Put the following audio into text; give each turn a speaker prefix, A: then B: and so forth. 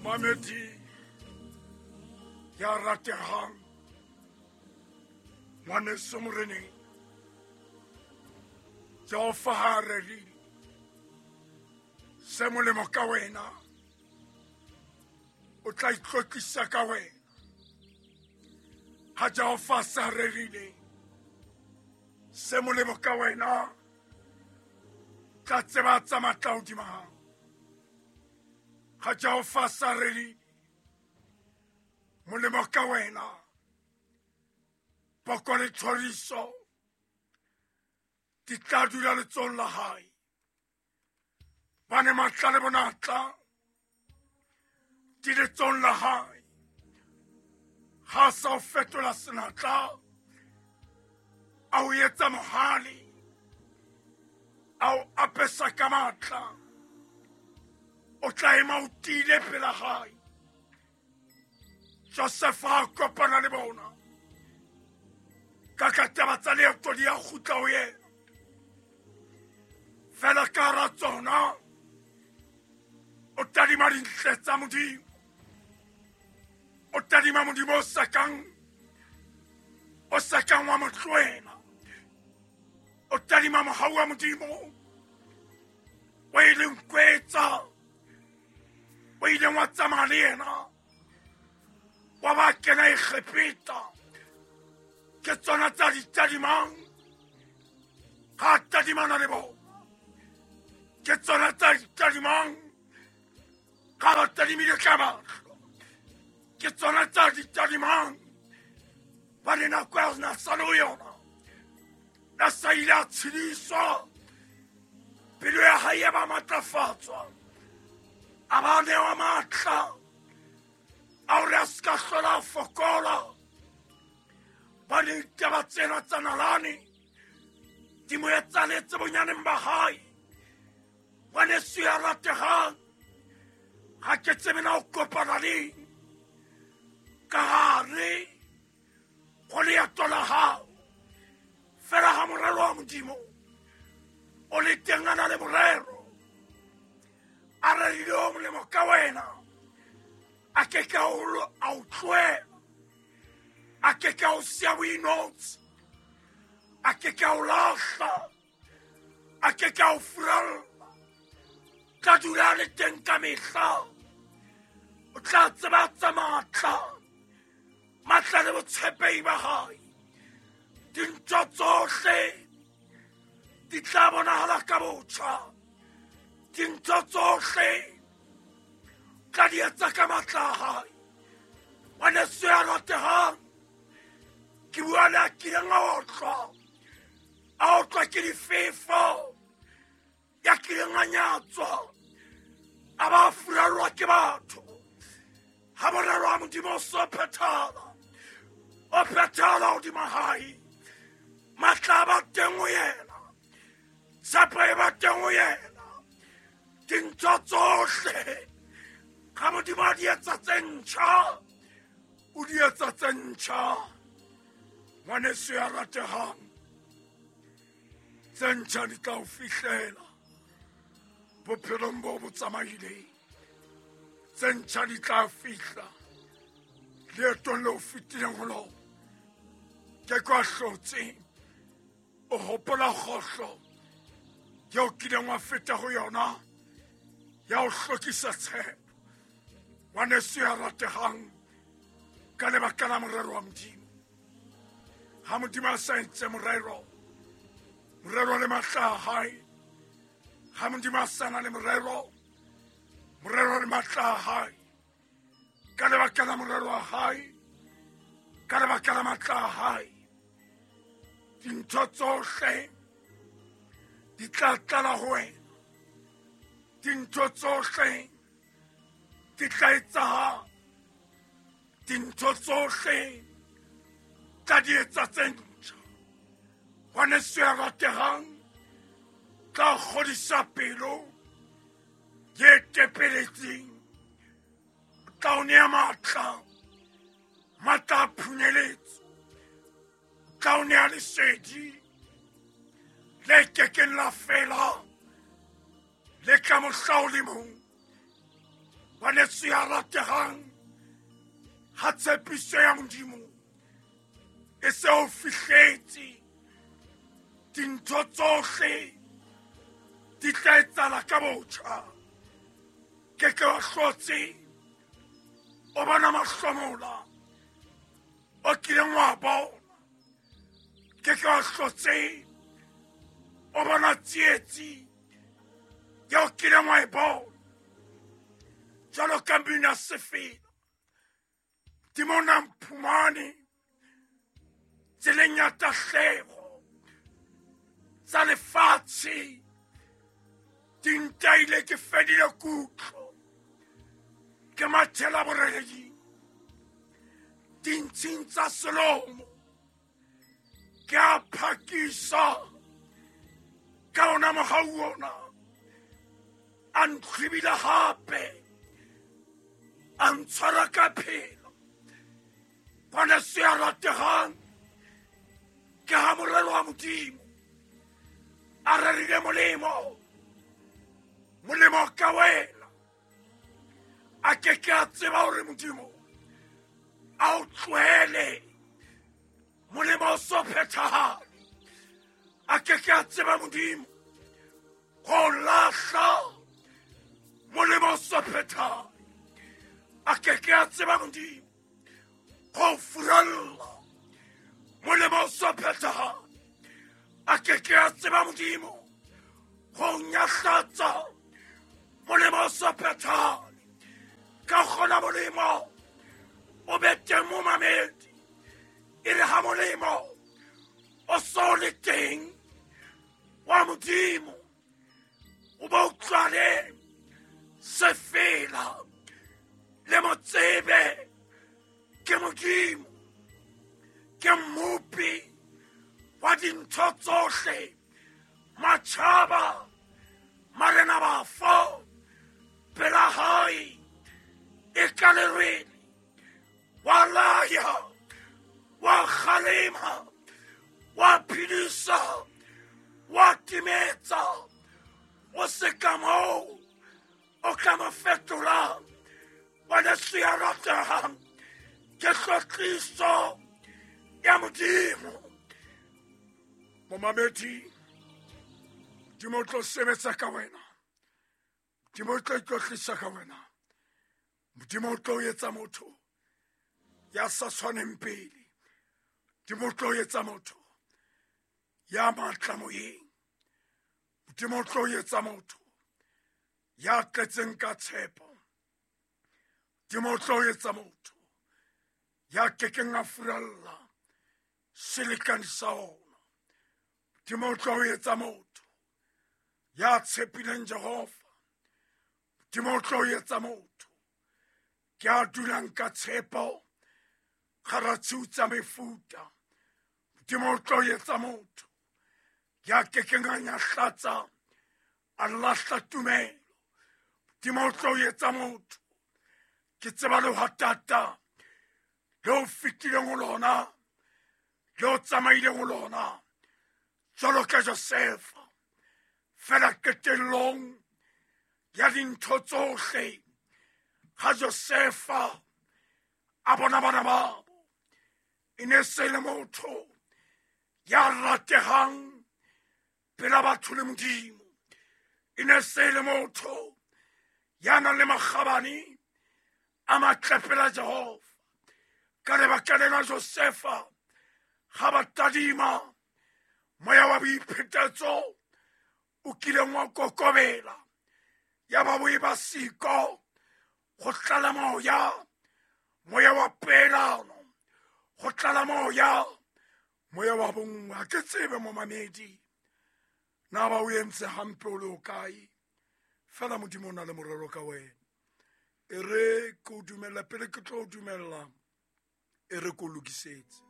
A: Mamedi ya ratehang, ngwaneso moreneng, Jehova ha a rerile se molemo ka wena, o tla itlotlisa ka wena. Ha Jehova sa rerile se molemo ka wena, tla tseba tsa matla hodima hao. Ha Jehova sa rerile molemo ka wena, poko le thoriso di tla dula letsohong la hae. Bane matla le bonatla di letsohong la hae. Ha sa o fetola senatla, a o etsa mohale, a o apesa ka matla, o tla ema o tiile pela hae. Josefa a kopana le bona ka ka taba tsa leeto di a kgutla ho yena. Fela ka hara tsona o tadima dintle tsa Modimo, o tadima Modimo o sa kang wa mo tlohela, o tadima mohau wa Modimo o ileng kwetsa, o ileng wa tsamaya le yena, wa ba kena Egepeta. Ke tsona tsa di tadimang ga tadimana le bona, ke tsona tsa di tadimang ga ba tadimile ka mahlo, ke tsona tsa di tadimang ba le nako ya na sa le ho yona, na sa ile a tshediswa, pelo ya hae ya ba matlafatswa, a ba newa matla a hore a se ka hlola a fokola. Ba le ditaba tsena tsa nalane di mo etsaletse bonyaneng ba hae. Ngwaneso ya rategang, ga ke tsebe na o kopana leng ka gare go leeto la gago. Fela ga morero wa Modimo o le teng, a na le morero a rerile o molemo ka wena, a ke ke a o tlohela, a ke ke a o siya o inotse, a ke ke a o lahla, a ke ke a o furalla. Tla dula le teng ka mehla, o tla tseba tsa matla, matla le botshepehi ba hae. Dintho tsohle di tla bonahala ka botjha, dintho tsohle tla di etsa ka matla a hae. Ngwaneso ya ratehang, ke bua le a kileng a otlwa ke difefo, ya kileng a nyatswa, a ba furallwa ke batho. Ha morero wa Modimo o so phethala, o phethala hodima hae. Matla a ba teng ho yena, tshepo e ba teng ho yena. Dintho tsohle ga Modimo a di etsa tse ntjha, o di etsa tse ntjha. Ngwaneso ya ratehang, tse ntjha di tla o fihlela bophelong bo bo tsamaileng. Tse ntjha di tla fihla leetong le o fetileng ho lona. Ke kwa hlotse o hopola kgohlo yeo kileng wa feta ho yona, ya o hlokisa tshepo. Ngwaneso ya ratehang, ka lebaka la morero wa Modimo, ha Modimo a sa entse morero, morero le matla a hae, ha Modimo a sa na le morero, morero le matla a hae, ka lebaka la morero wa hae, ka lebaka la matla a hae, dintho tsohle di tla tlala ho wena, dintho tsohle di tla etsahala, dintho tsohle tla di etsa tse ntjha. Ngwaneso ya ratehang, tla kgodisa pelo ye tepeletseng, tla o nea matla, matla a phunyeletso, tla o nea lesedi le kekeng la fela le ka mohla o le mong. Ngwaneso Ngwaneso ya rategang, ha tshepiso ya Modimo e se o fihletse, dintho tsohle di tla etsahala ka botjha. Ke ke wa hlotse o bona mahlomola o kileng wa bona. Ke ke wa hlotse o bona tsietsi ya o kileng wa e bona. Jwalo ka mmino sefela, Modimo o na mphumane tseleng ya tahleho tsa lefatshe, di ntaile ke fedile kutlo, ke mathela boreledi dintshing tsa selomo, ke a phakisa ka ona mohau ona, a ntlhwibile hape, a ntshwara ka phelo. Ngwaneso ya rategang, ke ha morero wa Modimo a rerile molemo, molemo ka wena. A ke ke a tseba hore Modimo a o tlohele, molemo o so phethahale. A ke ke a tseba Modimo go lahla, molemo o so phethahale. A ke ke a tseba Modimo go furalla, molemo o so phethahale. A ke ke a tseba Modimo go nyahlatsa, molemo o so phethahale. Ka kgona molemo o be teng momamedi, e re ha molemo o so le teng wa Modimo, o bo utlwane sefela le mo tsebe ke Modimo, ke mmopi wa dintho tsohle, matjhaba, marena bafo pela hae e ka lerwele, wa laya, wa kgalema, wa phedisa, wa timetsa. O se ka moo o ka mo fetolang. Ngwaneso ya ratehang, ke tlotliso ya Modimo. Momamedi, Modimo o tlo sebetsa ka wena, Modimo o tlo itlotlisa ka wena, Modimo o tlo etsa motho ya sa tshwaneng pele, Modimo o tlo etsa motho ya matla moyeng, Modimo o tlo etsa motho ya tletseng ka tshepo, Modimo o tlo etsa motho ya kekeng a furalla selekane sa ona, Modimo o tlo etsa motho ya tshepileng Jehova, Modimo o tlo etsa motho ke a dulang ka tshepo gara tshiu tsa mefuta, Modimo o tlo etsa motho ya kekeng a nyahlatsa a lahla tumelo, Modimo o tlo etsa motho ke tseba lehwatata le o fetileng ho lona, le o tsamaileng ho lona jwalo ka Josefa. Fela qetellong ya dintho tsohle, ha Josefa a bona bana babo, e ne se le motho ya ratehang pela batho le Modimo, e ne se le motho ya nang le makgabane a matle pela Jehova. Ka lebaka lena Josefa ga ba tadima moya wa boiphetetso o kileng wa kokobela, ya ba bo e ba siko go tlala moya, moya wa peelano, go tlala moya, moya wa bonngwe. Ha ke tsebe momamedi na ba o entse hampe o le o kae, fela Modimo o na le morero ka wena. E re ke o dumella pele ke tlo o dumella, e re ke o lokisetse.